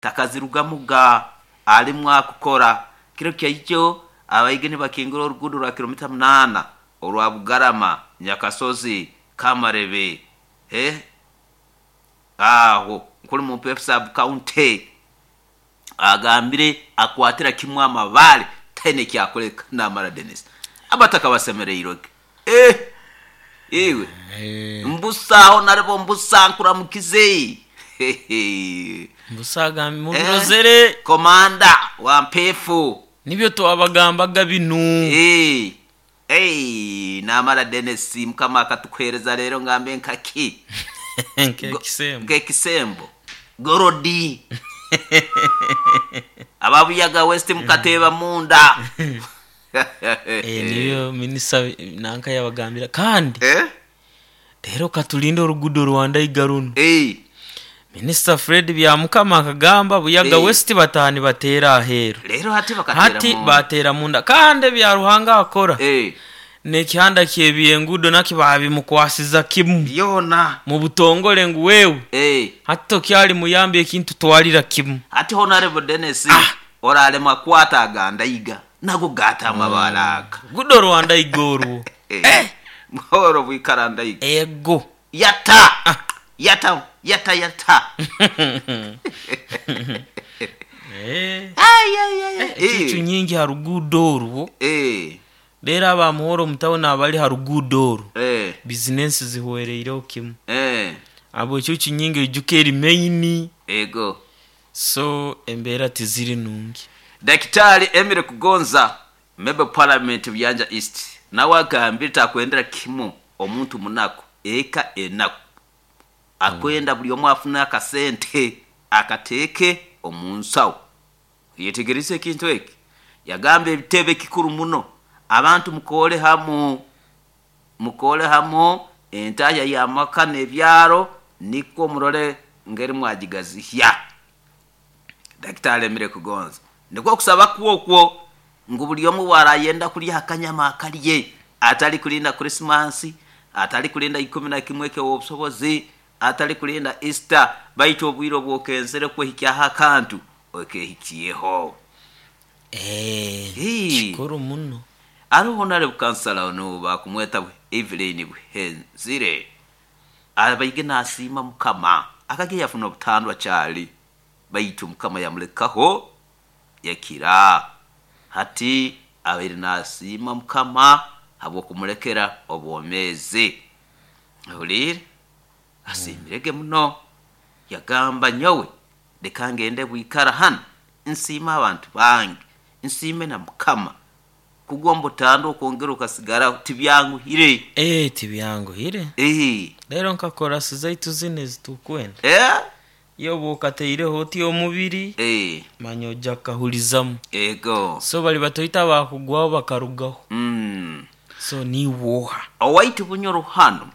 Takazirugamuga alimu akukora. Kiro kyaijo abaige nibakingura oruguudo rwa kilomita 8 orwa Bugarama, Nyakasozi, Kamarebe, aho nkuli mu Mpeefu Sub County agambire akwatira kimu amabaale taine ekyakuleka namara Denis. Abataka basemereirwe ge. Iwe mbusa aho naribo mbusa nkuramukize. Mbusa agambye mubirozere. Komanda wa Mpeefu. Nibyo twabagambaga binu. Namara Denis Mukama akatukuheereza leero ngambe nkaki? Nkekisembo. Nkekisembo. Gorodi. Ababuyaga West mukateeba munda. Niyo minisita nanka yabagambira kandi rero katulinde oruguudo rwa Ndaiga runu. Minisita Fred Byamukama akagamba Buyaga West bataaha nibateera aheeru. Rero hati bakateera Hati munda. bateera munda kandi ebya Ruhanga akora n'ekihanda ky'ebyenguudo nakyo baabimukwasiza kimu. Byona. Mu butongore ngu wewe hati tokyali muyambi ekintu twalira kimu. Hati Honorable Denis oraremwa kwata aga Ndaiga nago gaata amabaale aga. Gudo rwa Ndaiga orwo. Mworo bwikara Ndaiga. Ego. Yata. Yata, yata, yata. Ai, ai, ai, ai. Ecucu nyingi ha ruguudo orwo. Reero aba Muhoro omu tawuni abari ha ruguudo orwo. Bizinensi zihwereireho kimu. Abo ecucu nyingi oijuka eri main. Ego. So embeera tiziri nungi. Dakitari Emily Kugonza, Member of Parliament Buyanja East, nawe agambire takwendera kimu omuntu munaku, eka enaku. Akwenda buri omwe afune akasente akateeke omu nsaho. Oyetegerize ekintu eki? Yagamba ebitebe kikuru muno, abantu mukoore hamu, mukoore hamu entahya y'amaka n'ebyaro nikwo murole ngeri mwagigazihya. Dakitari Emily Kugonza nikwo kusaba kwe okwo ngu buri omwe waarayenda kurya akanyama akarye, atari kurinda Krisimansi, atari kurinda 11 eky'obusobozi, atari kurinda Easter, baitu obwire obwokenzere kwehikyaho akantu okehikyeho. Kikuru muno. Hariho Honorable Kansala onu bakumweta Evelyn Buhenzire abaige nasiima Mukama akagye yafuna obutandwa kyali baitu Mukama yamulekaho yakira. Hati abaire nasiima Mukama habw'okumulekera obwomeezi. Ohuliire? Asiimirege muno. Yagamba nyowe leka ngende bwikara hanu nsiime abantu bange, nsiime na Mukama. Kugwa omu butandwa okwongera okasigaraho tibyanguhire. Tibyanguhire. Reero nka korasi zaitu zinu ezitukwenda. Iwe oba okataireho oti omubiri, manya oja kukahurizamu. So bari batoito abakugwaho bakarugaho. So niiwe oha? Owaitu Bunyoro hanu,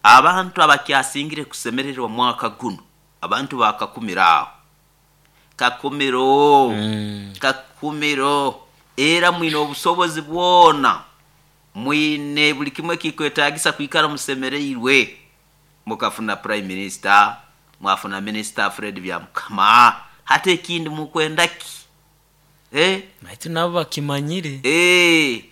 abantu abakyasingire kusemererwa mwaka gunu, abantu ba Kakumiro aho. Kakumiro, Kakumiro, era mwine obusobozi bwona, mwine buri kimwe ekikwetagisa kwikara musemereirwe. Mukafuna Prime Minister, mwafuna Minister Fred Byamukama, hati ekindi mukwenda ki? Baitu nabo bakimanyire.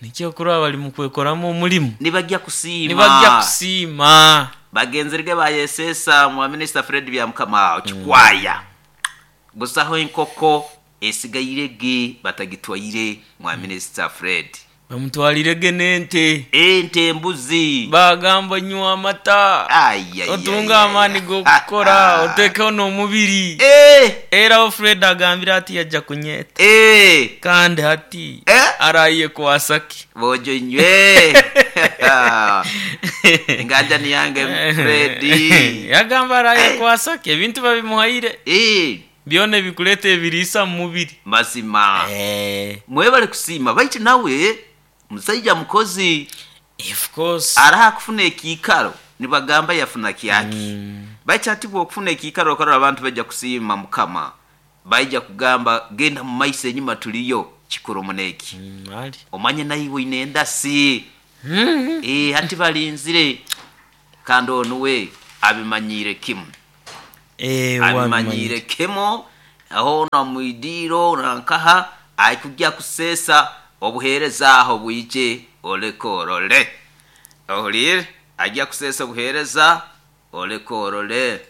Nikyo okurora bari mukwekoramu omurimo. Nibajya kusiima. Nibajya kusiima. Bagenzerege bayesesa mwa Minister Fred Byamukama aho Kikwaya. Busaho enkoko esigairege batagitwaire mwa Minister Fred. Bamutwarirege n'ente. Ente, embuzi. Bagamba nywa amata. Otunge amaani g'okukora, otekeho n'omubiri. Era aho Fred agambire ati yaija kunyeta. Kandi hati arayekwasa ki? Bojo inywe. Enganjani yange Fred. Yagamba arayekwasa ki? Ebintu babimuhaire. Byona ebikureeta ebiriisa omu mubiri. Mazima. Mwebale kusiima baitu nawe musaija mukozi. Of course. Araha kufuna ekiikaro nibagamba yafuna kyaki. Baitu hati bw'okufuna ekiikaro okarora abantu baija kusiima Mukama. Baija kugamba genda mu maiso enyima tuliyo kikuru muno eki. Omanye naiwe oine endasi. Hati balinzire kandi onu we abimanyiire kimu. Abimanyiire kimu. Hoona mwidiiro nankaha aikujya kuseesa obuheereza aho bwije oleke orole. Ohuliire? Ajya kuseesa obuheereza oleke orole.